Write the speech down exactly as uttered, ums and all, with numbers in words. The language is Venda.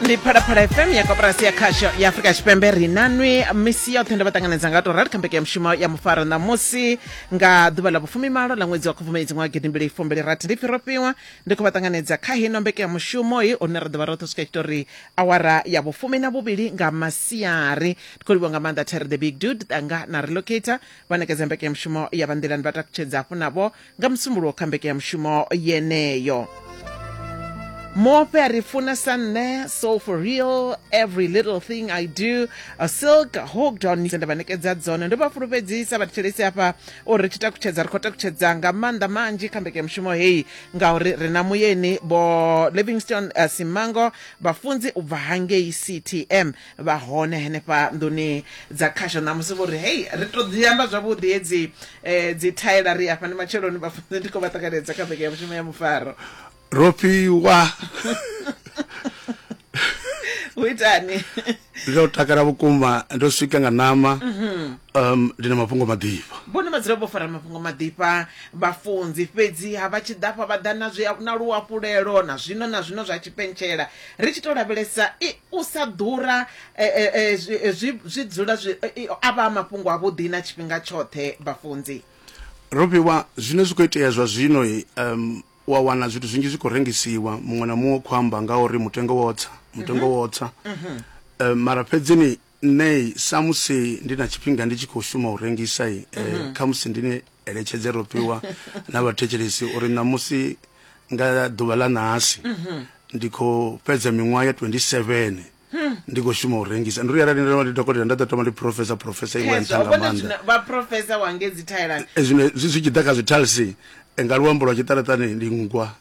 Ndi Phalaphala F M ya Koporasi ya Khasho ya Afrika Tshipembe. Ri nanwi misi yoṱhe, ndo vha ṱanganedza nga to rali kha mbekanyamushumo ya Mufaro ṋamusi nga ḓuvha ḽa vhufumimalo ḽa ṅwedzi wa Khubvumedzi ṅwaha gidimbili fumbili rathi. Ndi pfi Rofhiwa, ndi khou vha ṱanganedza kha hino mbekanyamushumo i une ra ḓo vha roṱhe swika tshitori awara ya vhufumi na vhuvhili nga masiari. Ndi khou livhuwa nga maanḓa Terry the Big Dude Tanga na Relocator vha ṋekedza mbekanyamushumo ya vhanḓilani, vha takutshedza hafhu navho nga Musumbuluwo kha mbekanyamushumo yeneyo. Muofhe a ri funa sa nṋe, so for real, every little thing I do, a silk hooked on. Nda vha ṋekedza dzone, ndo vha fulufhedzisa vhathetshelesi hafha uri ri tshi takutshedza, ri khou takutshedza nga maanḓa manzhi kha mbekanyamushumo heyi ngauri ri na muyeni Vho Livingstone uh, Simango, vhafunzi u bva hangei C T M, vha hone henefha nḓuni dza khasho ṋamusi. Vho ri hei ri to ḓi amba zwavhuḓi hedzi eh, dzi thaela. Ri afha ndi matsheloni vhafunzi, ndi khou vha ṱanganedza kha mbekanyamushumo ya Mufaro. Rofhiwa. Hu itani? Ndo takala vhukuma, ndo swika nga ṋama. um ndi na mafhungo maḓifha. Vhone vha dzula vho fara mafhungo maḓifha vhafunzi, fhedzi ha vha tshi ḓafha vha ḓa na zwi na luafhulelo na zwino na zwino zwa tshipentshela. Ri tshi to lavhelesa i u sa ḓura eh, eh, eh, zwi zwi zwi dzula zwi eh, a vha mafhungo avhuḓi na tshifhinga tshoṱhe vhafunzi. Rofhiwa, zwine zwi khou itea zwa zwino, um wa wana zwithu zwinzhi zwi khou rengisiwa, muṅwe na muṅwe u khou amba nga uri mutengo wo tsa, mutengo wo tsa. um mara fhedzini nṋe sa musi ndi na tshifhinga ndi tshi khou shuma u rengisa, eh, khamusi ndi ni eletshedze Rofhiwa na vhathetshelesi uri ṋamusi nga ḓuvha ḽa ṋahasi ndi khou fhedza miṅwaha ya twenty-seven ndi khou shuma u rengisa. Ndi uri arali ndo vha ndi dokotela, nda ḓo thoma ndi professor, professor iwe nṱha Khezwo nga vhone maanḓa. Zwino vha professor wange dzi thaelani. Eh, zwino zwi zwi tshi ḓa kha zwithalisi, eh, nga luambo lwa tshiṱaratani ndi nngwa.